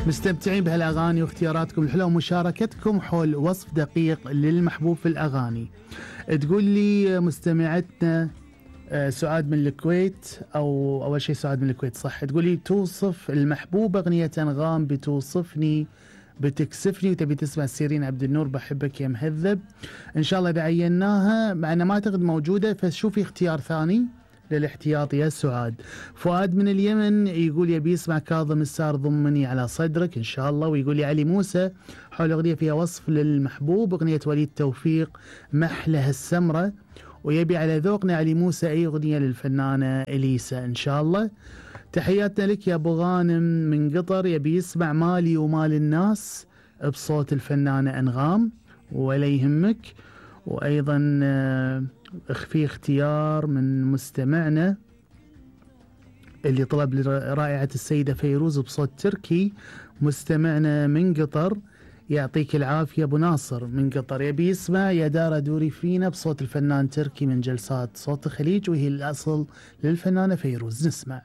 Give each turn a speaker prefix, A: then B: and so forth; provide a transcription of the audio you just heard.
A: مستمتعين بهالأغاني واختياراتكم الحلوة ومشاركتكم حول وصف دقيق للمحبوب في الأغاني. تقول لي مستمعتنا سعاد من الكويت، أو أول شيء سعاد من الكويت صح، تقول لي توصف المحبوب أغنية أنغام بتوصفني بتكسفني، وتبي تسمع سيرين عبد النور بحبك يا مهذب. إن شاء الله إذا عيناها معنا ما أعتقد موجودة، فشوفي اختيار ثاني للاحتياط يا سعاد. فؤاد من اليمن يقول يبي يسمع كاظم السار ضمني على صدرك إن شاء الله. ويقول لي علي موسى حول أغنية فيها وصف للمحبوب، أغنية وليد توفيق محلها السمرة، ويبي على ذوقنا علي موسى أي أغنية للفنانة إليسا إن شاء الله. تحياتنا لك يا أبو غانم من قطر، يبي يسمع مالي ومال الناس بصوت الفنانة أنغام ولا يهمك. وأيضا في اختيار من مستمعنا اللي طلب لرائعة السيدة فيروز بصوت تركي، مستمعنا من قطر يعطيك العافية أبو ناصر من قطر، يبي يسمع يا دار دوري فينا بصوت الفنان تركي من جلسات صوت الخليج، وهي الأصل للفنانة فيروز. نسمع.